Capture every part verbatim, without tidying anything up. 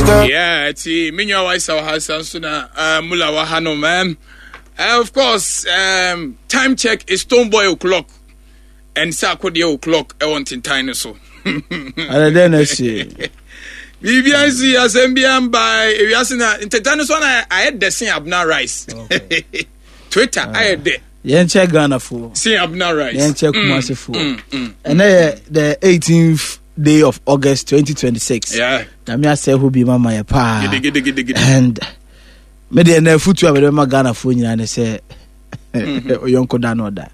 Yeah, ti me nua wa isa ha nso na uh, mula wa ha no man. Uh, of course, um, time check is Stonebwoy o'clock and Sarkodie o'clock ɛwɔ ntentan no so. Ɛdɛ dɛ na ɛsi. Biribi ansi asɛm bi amba ewiase na ntentan no so na ayɛ dɛ sen Abna Rice. Twitter ayɛ dɛ. Yɛn kyɛ Ghana fo. Sen Abna Rice. Yɛn kyɛ Kumasi fo. Ɛnɛ yɛ the eighteenth day of August twenty twenty six. Yeah. Nyame asɛ hɔ bi ma ma yɛ paa. Gidigidigidi. And me deɛ na afutu a mede bɛma Ghana fo nyinaa ne sɛ oyɔnko da no ɔda.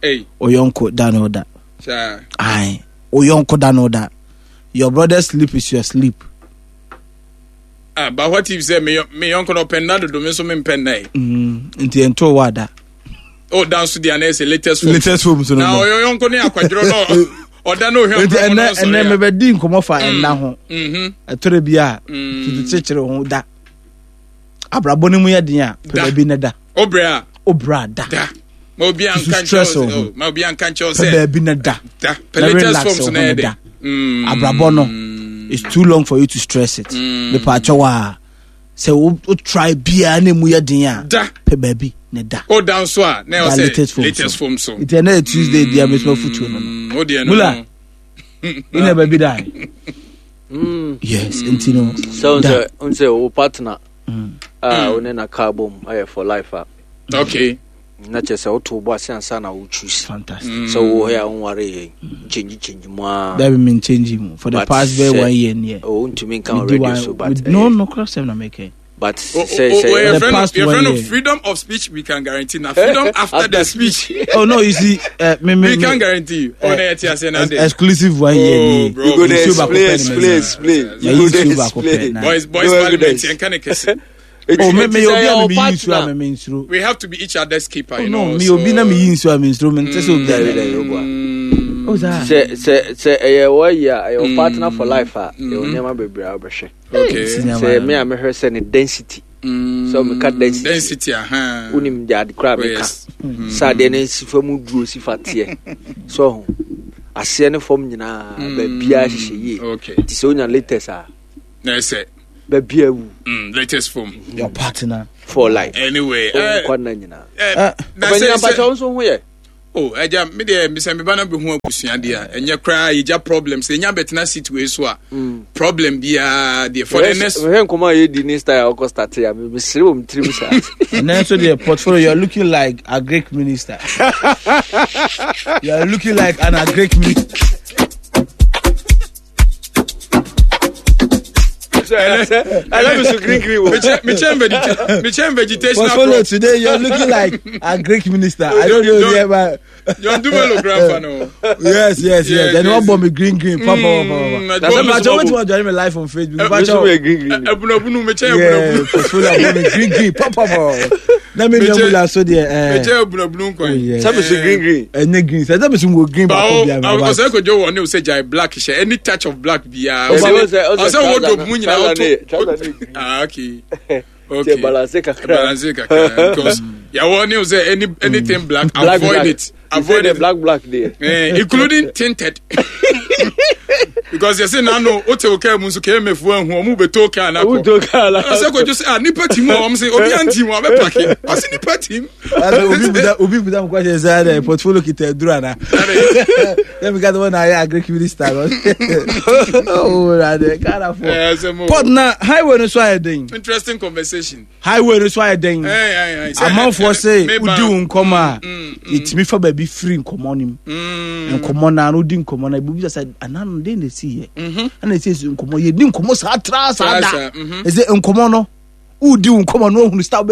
Hey. Oyɔnko da no ɔda. Sir. Aye. Oyɔnko da no ɔda. Your brother's sleep is your sleep. Ah, but what if say me me yɔnko no ɔpɛ nna dodo me nso me mpɛ nna yi. Mm, nti ɛnto wɔ ada. Oh, dan so deɛ anayɛ sɛ latest phone. Latest phone so no. Na ɔyɔ yɔnko ne akwadworɔ no ɔda no ohwɛ nti nkurɔfoɔ ɛnɛ no ɔsɔre ɛnɛ a. mebɛdi nkɔmmɔ fa ɛnna ho. Mhm. Ɛtɔrɔ bi a Mm. tutu kyekyere ho da. Abrabɔ no mu yɛ den a pɛ Da. baabi ne da. Obrɛ a Obra da. da. Ma obi anka Susu nkyɛw stress sɛ wo ho. oh, ma obi anka nkyɛw Pɛ sɛ baabi ne da. da. Pɛ Na latest relax forms wo na ho yɛ ne dɛ. da. Mm. Abrabɔ no it's too long for you to stress it. Mepa akyɛw a sɛ wo wo try biara na emu yɛ den a Da. pɛ baabi ne da. O dan so a na Da ɛwɔ sɛ latest form latest so. form so. Nti ɛnɛ yɛ Tuesday deɛ mesoma futuo no no. Mm, o deɛ no. Mula. no. Wona baabi da. Yes, nti no. sɛ Da. sɛ sɛ wo partner a wo ne na car bom ayɛ for life a Okay. na kyerɛ sɛ woto wo bɔ ase ansa na wo choose Fantastic. sɛ wowɔ hɔ a wonware yɛ change change mu a That been changing mu for the But past very sɛ- one year near. oh, wontumi nka wɔ radio so but no, eh, no, cross seven make. but O- o- sɛ o- o- sɛ your The friend, past your one friend of year. freedom of speech we can guarantee now. Freedom after the speech Oh no, you see, uh, me, me, we me, can guarantee you. Oh, na yɛ ti ase na ex- de. exclusive one year Oh, near. bro. You go there, Nsuo baako explain, pɛ na explain, manya. explain. Yeah, You go you there, nsuo baako pɛ explain. na. Boys, boys, No parliament evidence. yɛn ka ne kɛse. Oh, me me Nti sɛ obi a ɛyɛ me wo yi nsuo a partner- me me nsuro. We have to be each other's keeper, Oh you no, know. me so- obi na me yi nsuo a me nsuro me nte sɛ obi Dabi, a. dabi, wo boa. Oh, saa. sɛ sɛ sɛ ɛyɛ wɔyi a ɛyɛ wo partner for life a ɛwɔ nneɛma bebree a wobɛhwɛ Okay. Sinema. sɛ me a mehwɛ sɛ ne density Mm, sɛ meka density Density, aha. wonim de ade koraa Oh, meka yes. sɛ adeɛ no nsi fam duro si fa teɛ so ho aseɛ ne fam nyinaa baabiaa hyehyɛ yie Okay. nti sɛ wonya latest a Na ɛsɛ baabia wu mm, latest form. Your partner. for life Anyway, eh, nkwa nna nyinaa eh, Eh. na sɛ ɔbɛnyina mpakyɛ sɛ wo nso ho yɛ oh, ɛgya me deɛ mesɛ meba no bɛhu abusua deɛ a ɛnyɛ koraa yɛgya problem sɛ ɛnya bɛtena seat wei so a problem biara deɛ for the next mehwɛ nkɔmmɔ a yɛdi ne style a wokɔ starte a mesere wɔ me tirim saa And then so the portfolio, you are looking like a Greek minister. You are looking like an agric minister. ɛlɛ me so green green wɔ mekyɛn vegeta mekyɛn vegetational Portfolio crop today, you are looking like a Greek minister. I don't know Don't- yeah, but John Dumelo grandpa no yes, yes, yes. Yes, Then yes. one bomb me green, green. Papa, papa, Mm, papa. I don't But know. I want to join me live on Facebook. Eh, But me so yɛ green green abunabunu mekyɛn yeah, abunabunu portfolio bomb me green, green. Papa, papa. Let me know Mekyɛ- what so there. Eh, mekyɛn abunabunu oh, nkwan yeah. sɛ me so green green Eh, green. So that means we green. bawo Bawo, ɔsɛ kojú wɔ ne o sɛ gyae black hyɛ any touch of black biara Ɔsɛ- ɔsɛ ɔsɛ- ɔsɛ ɔsɛ wardrobe mu nyinaa trouser ne- ɔto trouser ne green. ah okay okay Kyɛ balance kakra balance kakra because yàwɔ ne o sɛ any anything black Black, avoid black. it You say avoid the it black black there eh, including tinted because yɛ sɛ nanu o te o kaa mu nso kmf ehu ɔmu bɛ to kaa na kɔ woto kaa la ɔsɛ kojú sɛ ah nipa ti mu a wɔn sɛ obi anti mu a bɛ paki ɔsɛ nipa ti mu. Obi buda obi buda mu question sɛ dɛ portfolio kita duru ana. Let me get the one I agric minister. Oh, rade Ghana for. Eh, sɛ mo- Port na highway no so ayɛ den. interesting conversation. Highway no so ayɛ den. Eh, eh, eh, sɛ- Amanfoɔ sɛ me ba- wodi wo nkɔmɔ a yɛtumi fa baabi firi nkɔmɔ no mu. Mm, Nkɔmɔ no ano wodi nkɔmɔ no ebi bisa sɛ anan no den na esi yɛ. Ɛna esi esi nkɔmɔ yɛdi nkɔmɔ saa tra saa Tra da. saa, mhm. Ɛsɛ nkɔmɔ no wodi wo nkɔmɔ no ohunu star.